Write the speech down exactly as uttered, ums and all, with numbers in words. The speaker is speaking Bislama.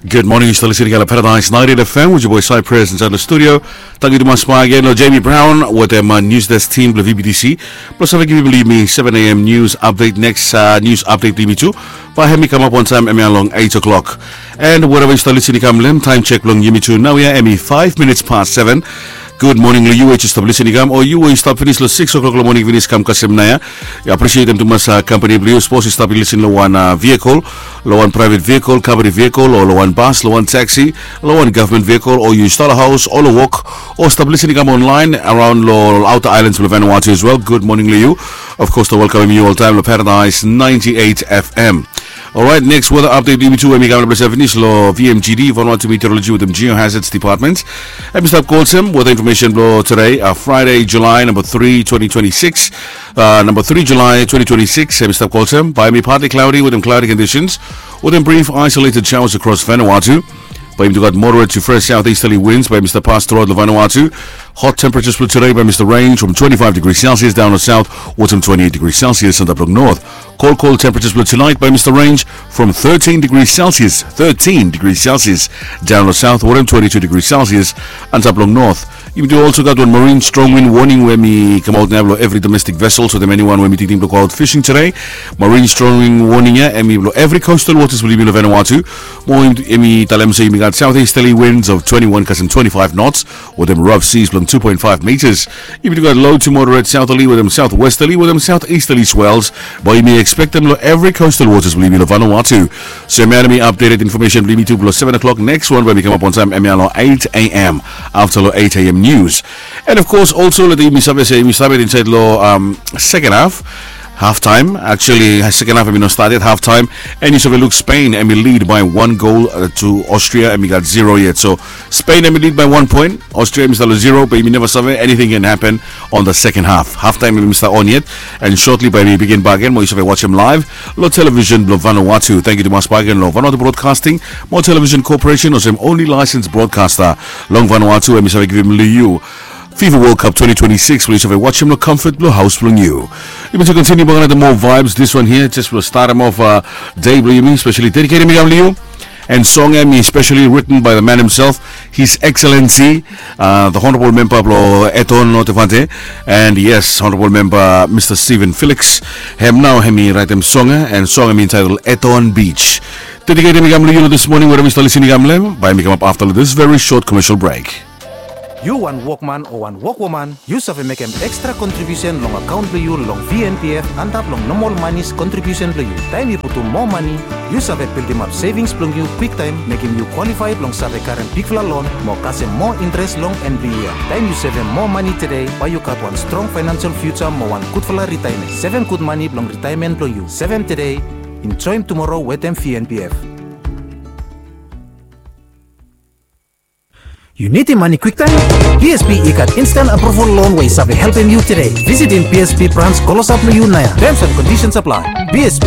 Gud moning, yu stap lisin i gat long Paradise ninety-eight F M with your boy Cypress inside the studio. Tangkiu tumas bak gen long Jamie Brown wetem uh, News Desk team blong V B T C. Blong save givim yumi seven a.m. news update. Next uh, news update blong yumi tu bae hemi kamap wantaem hemia long eight o'clock. And wherever yu stap lisin i kam long hem, taem check blong yumi tu naoia hemi five minutes past seven. Gud moning long yu we yu stap lisin i kam, o yu we yu stap finis long six o'clock long moning finis kam kasem naoia. Yu aprisietem tumas uh, kampani blong yu. Sapos yu stap lisin long wan uh, vehicle, long wan private vehicle, company vehicle, o long wan bus, long wan taxi, long wan government vehicle, o yu stap long haos o long wok, o stap lisin i kam online around long outer islands blong Vanuatu as well. Gud moning long yu. Of course, to welkamem yu oltaem long Paradise ninety-eight F M. Alright, next weather update blong yumi tu hemi kam long ples ya finis long V M G D, Vanuatu Meteorology wetem Geohazards Department. Hemi stap go olsem weather information blong today, uh, Friday, July number three, twenty twenty-six. Uh, number three, July twenty twenty-six, hemi stap go olsem, bae hemi partly cloudy wetem cloudy conditions, wetem brief isolated showers across Vanuatu. Bae yumi tu gat moderate to fresh southeasterly winds bae hemi stap pas throughout long Vanuatu. Hot temperatures blong today bae hemi stap range from twenty-five degrees Celsius down long south wetem twenty-eight degrees Celsius antap long north. Cold, cold temperatures blong tonight bae hemi stap range from thirteen degrees Celsius, thirteen degrees Celsius down long south wetem twenty-two degrees Celsius antap long north. Yumi tu also gat wan marine strong wind warning we hemi kamaot naoia blong evri domestic vessels wetem eniwan we hemi tingting blong go out fishing today. Marine strong wind warning ya hemi blong evri coastal waters blong yumi long Vanuatu. Mo hemi talem se yumi gat southeasterly winds of twenty-one kasem twenty-five knots wetem rough seas blong two point five meters. Yumi tu gat low to moderate southerly wetem southwesterly wetem southeasterly swells bae yumi ekspektem long evri coastal waters blong yumi long Vanuatu. So hemia hemi updated information blong yumi tu blong seven o'clock. Next wan bae hemi kamap wantaem hemia long eight a.m. afta long eight a.m. news. And of course also leta yumi save se yumi stap yet insaed long um, second half. Half time, actually, second half hemi no stat yet, half time. And yu save luk Spain hemi lead by one goal uh, to Austria hemi gat zero yet. So Spain hemi lead by one point, Austria hemi stap long zero, bae yumi neva save, anything can happen on the second half. Half time hemi stap on yet, and shortly bae hemi bigin bak gen, mo yu save wajem live long television blong Vanuatu. Tangkiu tumas bak gen long Vanuatu Broadcasting mo Television Corporation olsem only licensed broadcaster long Vanuatu, hemi save givim long yu FIFA World Cup twenty twenty-six blong yu save wajem long comfort blong haos blong yu. Yumi tu kontiniu bak gen wetem more vibes. This one here, just blong statem off uh, day blong yumi, specially dedicated hemi kam long yu. And song hemi specially written by the man himself, His Excellency, uh, the Honorable Member blong Eton North Devante. And yes, Honorable Member Mister Stephen Felix. Hem nao hemi raetem song ya, and song hemi entitled Eton Beach. Dedicated hemi kam long yu this morning, wherever yu stap lisin i kam long hem, bae hemi kamap afta long this very short commercial break. Yu wan wokman o wan wokwoman, yu save mekem extra contribution long akaon blong yu long V N P F antap long normal monies contribution blong yu. Taem yu putum moa mani, yu save bildimap savings blong yu kwiktaem, mekem yu kwalifai blong save karem bigfala loan mo kasem moa interes long en blong yia. Taem yu sevem moa mani tede, bae yu gat wan strong financial future mo wan gudfala ritaemen. Sevem gud mani blong ritaemen blong yu. Sevem tede, enjoem tumoro wetem V N P F. Yu nidim mani kwiktaem? P S B i gat instant approval loan we i save helpem yu tede. Visitim P S B branch klosap long yu naoia. Terms and conditions apply. P S B.